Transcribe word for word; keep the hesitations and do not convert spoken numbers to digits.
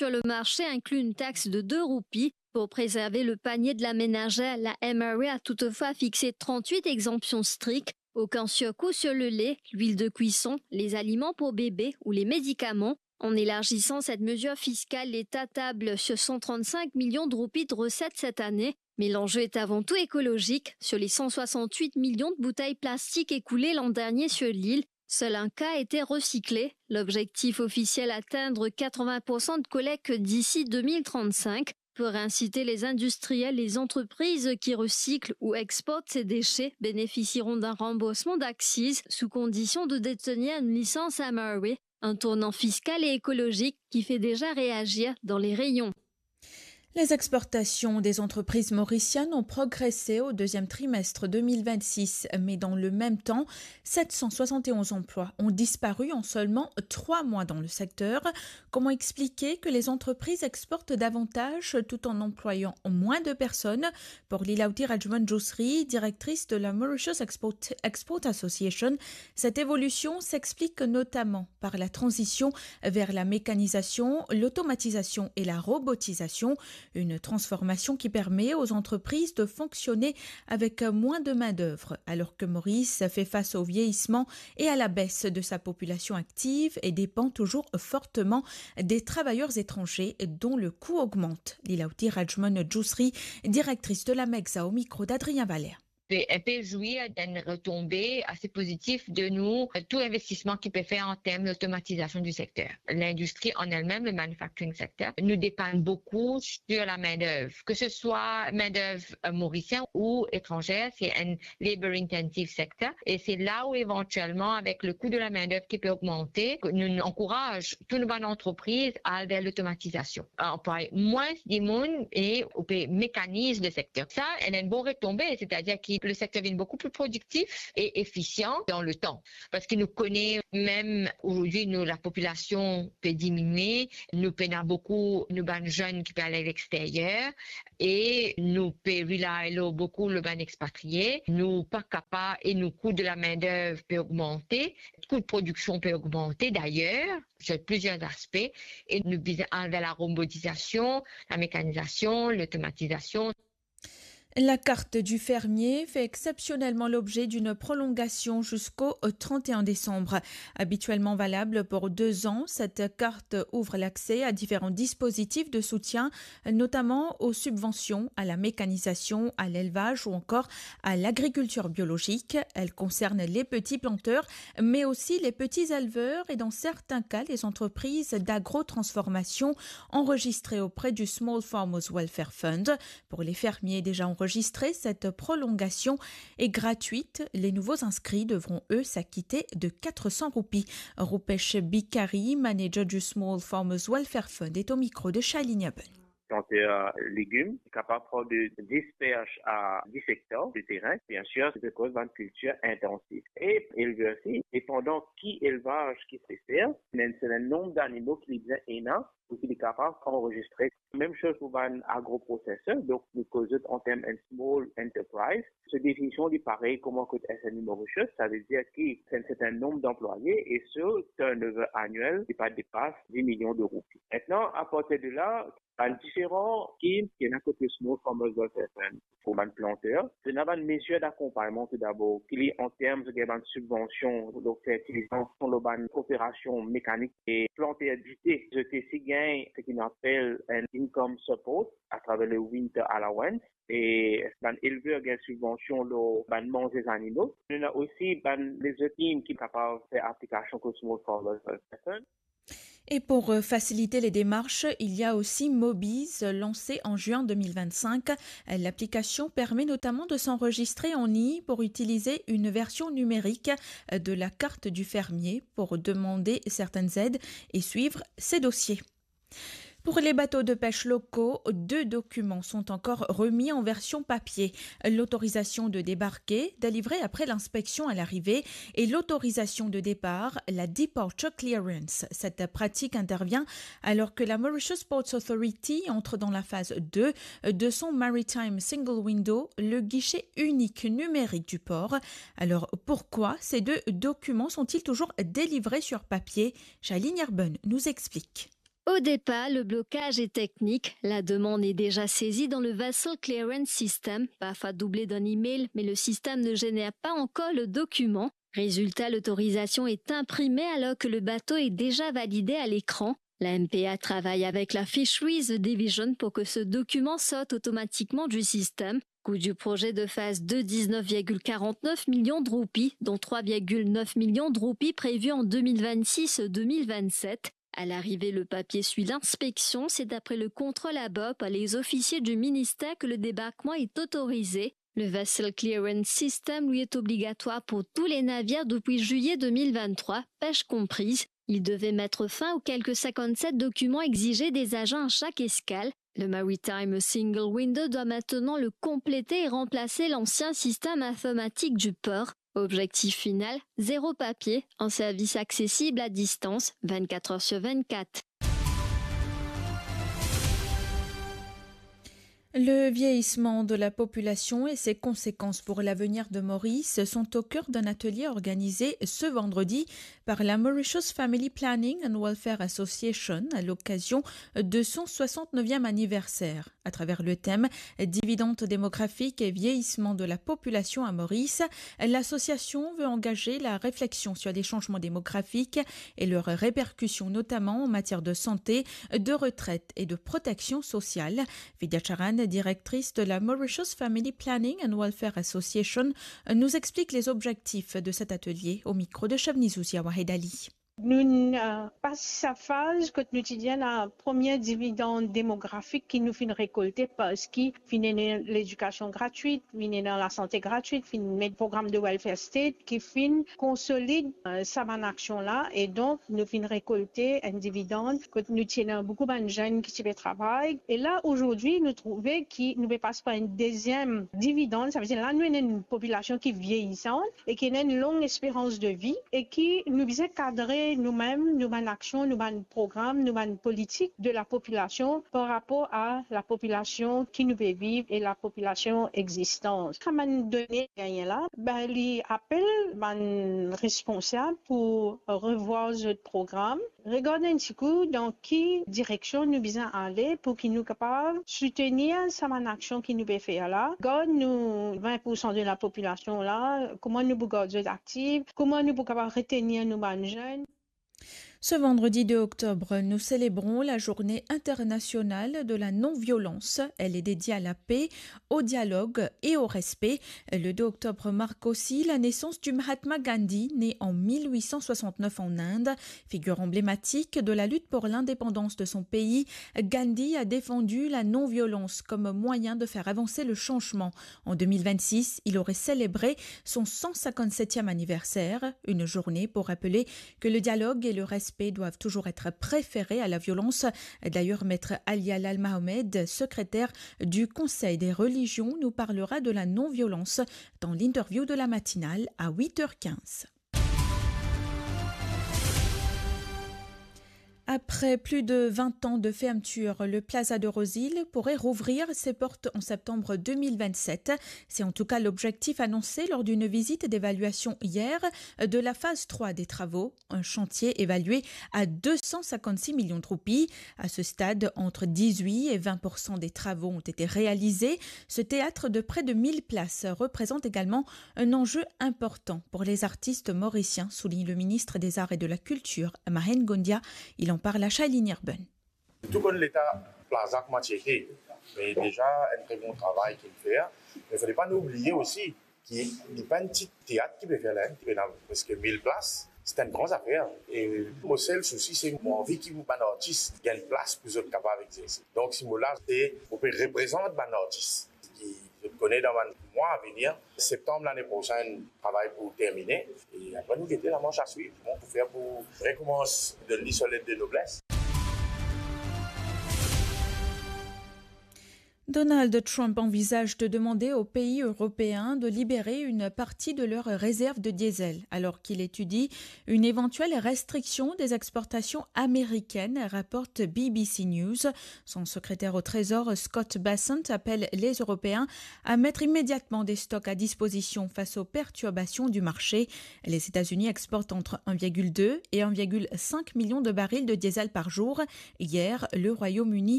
sur le marché inclut une taxe de deux roupies. Pour préserver le panier de la ménagère, la M R A a toutefois fixé trente-huit exemptions strictes, aucun surcoût sur le lait, l'huile de cuisson, les aliments pour bébés ou les médicaments. En élargissant cette mesure fiscale, l'État table sur cent trente-cinq millions de roupies de recettes cette année. Mais l'enjeu est avant tout écologique. Sur les cent soixante-huit millions de bouteilles plastiques écoulées l'an dernier sur l'île, seul un quart était recyclé. L'objectif officiel, atteindre quatre-vingts pour cent de collecte d'ici deux mille trente-cinq. Pour inciter les industriels, les entreprises qui recyclent ou exportent ces déchets bénéficieront d'un remboursement d'accise sous condition de détenir une licence M R A, un tournant fiscal et écologique qui fait déjà réagir dans les rayons. Les exportations des entreprises mauriciennes ont progressé au deuxième trimestre deux mille vingt-six, mais dans le même temps, sept cent soixante et onze emplois ont disparu en seulement trois mois dans le secteur. Comment expliquer que les entreprises exportent davantage tout en employant moins de personnes ? Pour Lilaouti Rajman Jousri, directrice de la Mauritius Export, Export Association, cette évolution s'explique notamment par la transition vers la mécanisation, l'automatisation et la robotisation, une transformation qui permet aux entreprises de fonctionner avec moins de main-d'œuvre, alors que Maurice fait face au vieillissement et à la baisse de sa population active et dépend toujours fortement des travailleurs étrangers dont le coût augmente. Lilaouti Rajman Jousri, directrice de la MEGSA, au micro d'Adrien Valère. Pe, pe zwi d'enn retonbe ase pozitif de nou, tou investisman ki pe fer an term lotomatizasion di sekter. Lindistri an elmem, le manufacturing sector, nou depann boukou sur la main-d'œuvre, que ce soit main-d'œuvre, euh, mauricienne ou étrangère, c'est un labor-intensive sector. Et c'est là où éventuellement, avec le coût de la main-d'œuvre qui peut augmenter, que nou ankouraz tou nou bann antrepriz al ver lotomatizasion. Anplwaye mwins dimoun e ou pe mekaniz le sekter. Sa, ena enn bon retonbe, setadir ki le sekter vinn boukou pli prodiktif e efisian dan le tan. Parski nou kone mem ozordi nou lapopilasion pe diminie, nou pena boukou nou bann zenn ki pe al a lexteryer e nou pe rely lor boukou lor bann expatrie. Nou pa kapav e nou kou de la main-d'œuvre pe ogmante, kou de prodiksion pe ogmante dayer, sur plusieurs aspects, e nou bizin al ver la robotizasion, la mekanizasion, lotomatizasion. La carte du fermier fait exceptionnellement l'objet d'une prolongation jusqu'au trente et un décembre. Habituellement valable pour deux ans, cette carte ouvre l'accès à différents dispositifs de soutien, notamment aux subventions à la mécanisation, à l'élevage ou encore à l'agriculture biologique. Elle concerne les petits planteurs, mais aussi les petits éleveurs et dans certains cas les entreprises d'agrotransformation enregistrées auprès du Small Farmers Welfare Fund. Pour les fermiers déjà enregistrés, cette prolongation est gratuite. Les nouveaux inscrits devront, eux, s'acquitter de quatre cents roupies. Rupesh Bikari, manager du Small Farmers Welfare Fund, est au micro de Shailini Aben. Planter, euh, légumes, capable de dix perches à dix hectares de terrain, bien sûr, c'est de cause d'une culture intensive. Et éleveur aussi, dépendant qui élevage qui préfère, mais c'est le nombre d'animaux qu'il vient et n'a, pou ki li kapav anrezistre. Mem soz pou bann agroproseser, donk nou koz zot an term enn small enterprise. So definision li parey kouma kot S M E Mauritius, savedir ki se enn serten nonb danplwaye e so turnover anuel li pa depas dis milion de roupi. Aster, apartir de la, bann diferan skim ki ena kot Small Farmers Welfare Fund, pou bann planter. Ena bann mezir dakonpagnman toudabor, ki li an term zot gagn bann sibvansion lor fertilizan, lor bann operasion mekanik e planter dite, zot osi gagn seki nou apel enn income support atraver le winter allowance, e bann elver gagn sibvansion lor bann manze zanimo. Nou ena osi bann lezot skim ki kapav fer aplikasion kot Small Farmers Welfare Fund. Et pour, euh, faciliter les démarches, il y a aussi Mobiz, lancé en juin deux mille vingt-cinq. L'application permet notamment de s'enregistrer en ligne pour utiliser une version numérique, euh, de la carte du fermier pour demander certaines aides et suivre ses dossiers. Pour les bateaux de pêche locaux, deux documents sont encore remis en version papier. L'autorisation de débarquer, délivrée après l'inspection à l'arrivée, et l'autorisation de départ, la departure clearance. Cette pratique intervient alors que la Mauritius Ports Authority entre dans la phase deux de son Maritime Single Window, le guichet unique numérique du port. Alors, pourquoi ces deux documents sont-ils toujours délivrés sur papier ? Shailini Aben nous explique. Au départ, le blocage est technique. La demande est déjà saisie dans le Vessel Clearance System, parfois doublé d'un email, mais le système ne génère pas encore le document. Résultat, l'autorisation est imprimée alors que le bateau est déjà validé à l'écran. La M P A travaille avec la Fisheries Division pour que ce document sorte automatiquement du système. Coût du projet de phase deux, dix-neuf virgule quarante-neuf millions de roupies, dont trois virgule neuf millions de roupies prévues en deux mille vingt-six et deux mille vingt-sept. À l'arrivée, le papier suit l'inspection. C'est après le contrôle à bord par les officiers du ministère que le débarquement est autorisé. Le Vessel Clearance System, lui, est obligatoire pour tous les navires depuis juillet deux mille vingt-trois, pêche comprise. Il devait mettre fin aux quelques cinquante-sept documents exigés des agents à chaque escale. Le Maritime Single Window doit maintenant le compléter et remplacer l'ancien système informatique du port. Objectif final, zéro papier, un service accessible à distance, vingt-quatre heures sur vingt-quatre. Le vieillissement de la population et ses conséquences pour l'avenir de Maurice sont au cœur d'un atelier organisé ce vendredi par la Mauritius Family Planning and Welfare Association à l'occasion de son soixante-neuvième anniversaire. À travers le thème Dividendes démographiques et vieillissement de la population à Maurice, l'association veut engager la réflexion sur les changements démographiques et leurs répercussions, notamment en matière de santé, de retraite et de protection sociale. Vidya Charan, directrice de la Mauritius Family Planning and Welfare Association, nous explique les objectifs de cet atelier au micro de Shabnizou Ziawahid Ali. Nou, euh, pas sa faz kot nou ti dir la premie dividann demografik ki nou finn rekolte, parski finn ena ledikasion gratwit, finn ena lasante gratwit, finn met program de welfare state ki finn konsolid, euh, sa bann aksion la, e donk nou finn rekolte enn dividann kot nou ti ena boukou bann zenn ki ti pe travay. E la, azordi, nou trouve ki nou pe pas par enn deziem dividann, savedir la nou ena enn popilasion ki vieyisan, e ki ena enn long esperans de vi, e ki nou bizin kadre noumem, nou bann aksion, nou bann program, nou bann politik de la popilasion par rapor a la popilasion ki nou pe viv e la popilasion egzistan. Kan bann done gagne la, be, li apel bann responsab pou revwar zot program, regard enn tikou dan ki direksion nou bizin ale pou ki nou kapav soutenir sa bann aksion ki nou pe fer la. Gard nou vin poursan de la popilasion la, kouma nou pou gard zot aktif, kouma nou pou kapav retenir nou bann zenn. Ce vendredi deux octobre, nous célébrons la journée internationale de la non-violence. Elle est dédiée à la paix, au dialogue et au respect. Le deux octobre marque aussi la naissance du Mahatma Gandhi, né en mille huit cent soixante-neuf en Inde. Figure emblématique de la lutte pour l'indépendance de son pays, Gandhi a défendu la non-violence comme moyen de faire avancer le changement. En deux mille vingt-six, il aurait célébré son cent cinquante-septième anniversaire, une journée pour rappeler que le dialogue et le respect doivent toujours être préférés à la violence. D'ailleurs, Maître Ali Alal Mohamed, secrétaire du Conseil des religions, nous parlera de la non-violence dans l'interview de la matinale à huit heures quinze. Après plus de vingt ans de fermeture, le Plaza de Rose Hill pourrait rouvrir ses portes en septembre deux mille vingt-sept. C'est en tout cas l'objectif annoncé lors d'une visite d'évaluation hier de la phase trois des travaux, un chantier évalué à deux cent cinquante-six millions de roupies. À ce stade, entre dix-huit et vingt pour cent des travaux ont été réalisés. Ce théâtre de près de mille places représente également un enjeu important pour les artistes mauriciens, souligne le ministre des Arts et de la Culture, Mahen Gondia. Il en parle à Shailene Urban. Tou konn leta Plaza kouma ti ete, me deza enn tre bon travay ki finn fer. Me fode pa nou oubliye osi ki li pa enn ti teat ki pe fer la, ki pena preske mil plas. Se enn gran zafer. E mo sel sousi se mo anvi ki bann artis gagn plas pou zot kapav egzerse. Donk si mo la, se mo pe reprezant bann artis ki zot kone dan bann mwa avenir. Septanm lane prosenn, travay pou termine. E apre nou gete lamars a swiv. Kouma pou fer pou rekoumans donn li so let de nobles. Donald Trump envisage de demander aux pays européens de libérer une partie de leurs réserves de diesel, alors qu'il étudie une éventuelle restriction des exportations américaines, rapporte B B C News. Son secrétaire au Trésor, Scott Bessent, appelle les Européens à mettre immédiatement des stocks à disposition face aux perturbations du marché. Les États-Unis exportent entre un virgule deux et un virgule cinq million de barils de diesel par jour. Hier, le Royaume-Uni